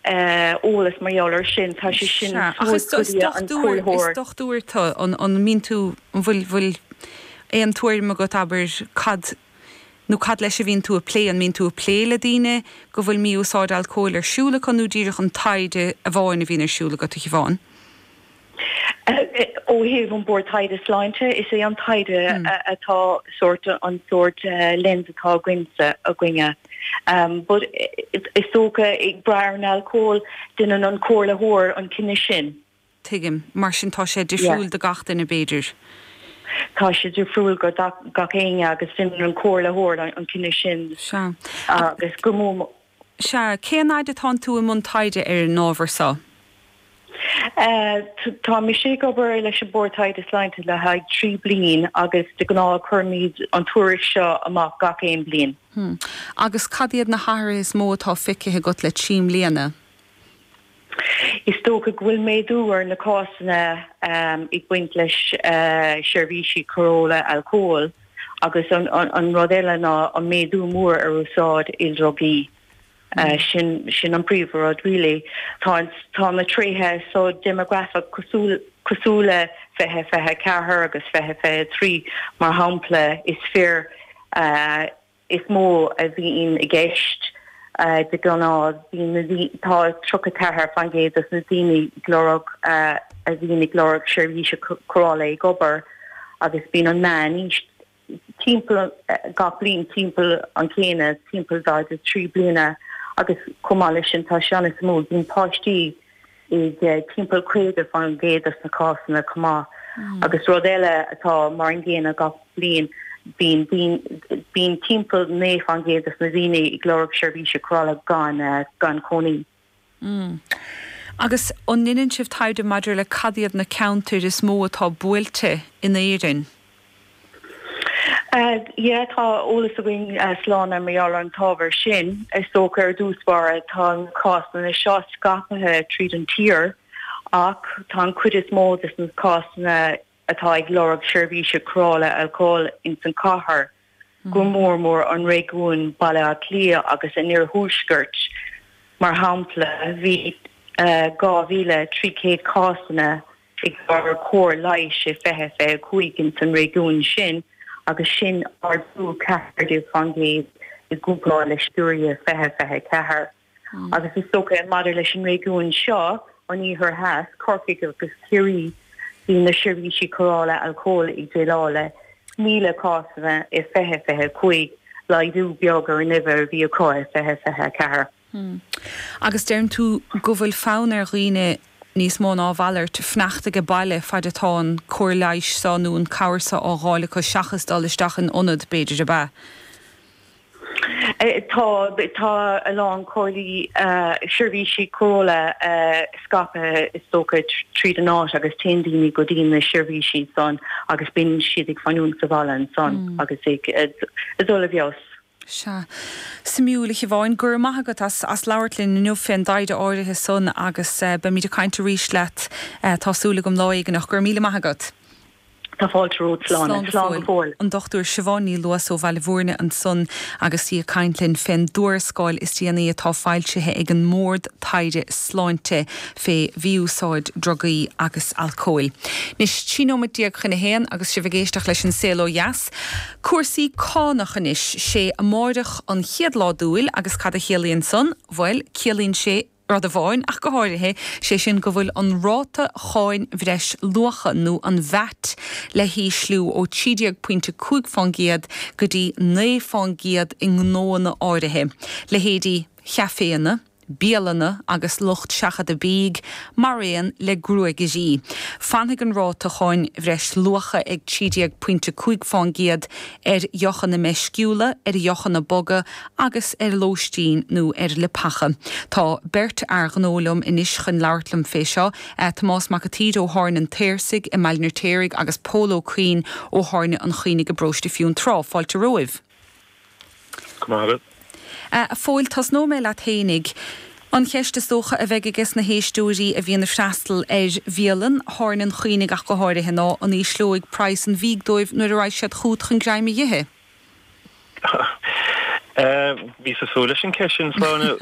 Eolas mar gheall air sin, tá sé sin Sea, ach suas is go dtí an dochtúir, is comhairleoir. dochtúir tú, an, an mbíonn tú, an bhfuil, bhfuil aon tuairim agat, abair, cad, nó cad leis a bhíonn tú ag plé, an mbíonn tú ag plé le daoine go bhfuil mí-úsáid alcóil ar siúl acu nó díreach an taighde amháin a bhíonn ar siúl agat, a Shiobhán? Ó thaobh an Bord Taighde Sláinte, is é an taighde atá sórt an sórt lens atá againne againne. But is dócha ag brath ar an alcól, déanann an comhairleoir an cinneadh sin. Tuigim. Mar sin tá sé difriúil do gach duine b'fhéidir. Tá sé difriúil do gach éinne agus déanann an comhairleoir an cinneadh sin. Sea. Agus go mór. Sea. Cén fhaid atánn tú i mbun taighde ar an ábhar so? Tá mise ag obair leis an Bord Taighde Sláinte le haghaidh 3 bliain agus de ghnáth cuirimid an tuairisc seo amach gach aon bliain. Agus cad iad na hathruithe is mó atá feicthe agat le 3 mbliana? Is dócha go bhfuil méadú ar na cásanna ag baint leis seirbhísí cóireála alcóil agus an rud eile ná an méadú mór ar úsáid ildrugaí. Sin sin an príomhrud really. Tá tá na tréithe so déimeagrafach cosúil cosúil le 2024 agus 2023 mar shampla is fir is mó a bhíonn i gceist de ghnáth. Bíonn na tá 34% de na daoine ag lorg a bhíonn ag lorg seirbhíse cóireála ag obair agus bíonn an meán-aois timpeall gach bliain timpeall an chéanna, timpeall 43 bliana agus chomh maith leis sin tá sé an-suimiúil, bíonn páistí ag timpeall 50% de na cásanna chomh maith. Agus rud eile atá mar an gcéanna gach bliain, bíonn bíonn timpeall 9% de na daoine ag lorg seirbhíse cóireála gan gan cónaí. Agus an ndeineann sibh taighde maidir le cad iad na ceantair is mó atá buailte in Éirinn? Yeah, tá eolas againn, Sláine, mar gheall ar an t-ábhar sin. Is dócha ar dtús báire tá na cásanna seo scaipthe tríd an tír ach tá an chuid is mó de na cásanna atá ag lorg seirbhíse cóireála alcóil ins an chathair, go mór mór an réigiún Baile Átha Cliath agus an Iarthuaiscirt. Mar shampla, bhí 2,300 cásanna ag lorg cóir leighis i 2025 ins an réigiún sin agus sin ardú 14% i gcomparáid le sciúradh 2024. Agus is dócha maidir leis an réigiún seo, an Iarthar Theas, Corcaigh agus Ciarraí, bhí na seirbhísí cóireála alcóil ag déileáil le 1,000 cásanna i 2025, laghdú beag ar an uimhir a bhí acu i 2024. Agus deireann tú go bhfuil fonn ar dhaoine níos mó ná a mhalairt fanacht age baile faid atá an cóir leighis seo nó an cabhair seo á dháil acu seachas dul isteach in ionad, b'fhéidir, ab ea? Tá, tá a lán comhairlí, seirbhísí cóireála scaipthe is dócha tríd an áit agus téann daoine go dtí na seirbhísí san agus bíonn siad ag fanúint sa bhaile ansan agus ag dul i bhfeabhas. Sea. Suimiúil, a Shiobháin. Go raibh maith agat as as labhairt linn inniu fén dtaighde áirithe san agus beimid ag caint arís leat, tá súil agam, lá éigin ach go raibh míle maith agat. Tá fáilte romhat, Sláine. Slán go Slán go fóill. fóill. An Dr Siobhán Ní Luasa ó Bhaile Bhúirne ansan agus í ag caint linn fén dtuarascáil is déanaí atá foilsithe ag an mBord Taighde Sláinte fé mhí-úsáid drugaí agus alcóil. Anois, 13 nóiméad chun a haon agus sibh ag éisteacht leis An Saol Ó Dheas. Cúrsaí cánach anois. Sé amáireach an chéad lá d'Iúil agus cad a chiallaíonn san? Bhuel, ciallaíonn sé rud amháin ach go háirithe, sé sin go bhfuil an ráta cháin bhreis luacha, nó an VAT, le hísliú ó 13 pointe 5 fán gcéad go dtí 9 fán gcéad i ngnóanna áirithe, leithéidí chaiféanna, bialanna agus lucht seachadta bídh, maraon le gruagairí. Fanfaidh an ráta cháin bhreis luacha ag 13 pointe 5 fán gcéad ar dheochanna meisciúla, ar dheochanna boga agus ar lóistín nó ar leapacha. Tá beirt fhear gnó liom anois chun labhairt liom fé seo, Tomás Mac a tSaoir ó Thábhairne an tSaorsaigh i mBaile an Fheirtéaraigh agus Pól Ó Cuinn ó Thábhairne an Choinnigh i bParóiste Fionntrá. Fáilte romhaibh. Go maith agat. A Phóil, tosnóidh mé leat fhéinig. An cheist is dócha a bheidh ages na héisteoirí a bhíonn ag freastal ar bhialann, Thábhairne an Choinnigh ach go háirithe, ná an ísleoidh praghas an bhídh dóibh nuair a raghaidh siad chugat chun greim a dh'ithe? Bhíos ag súil leis an cheist sin, Sláine.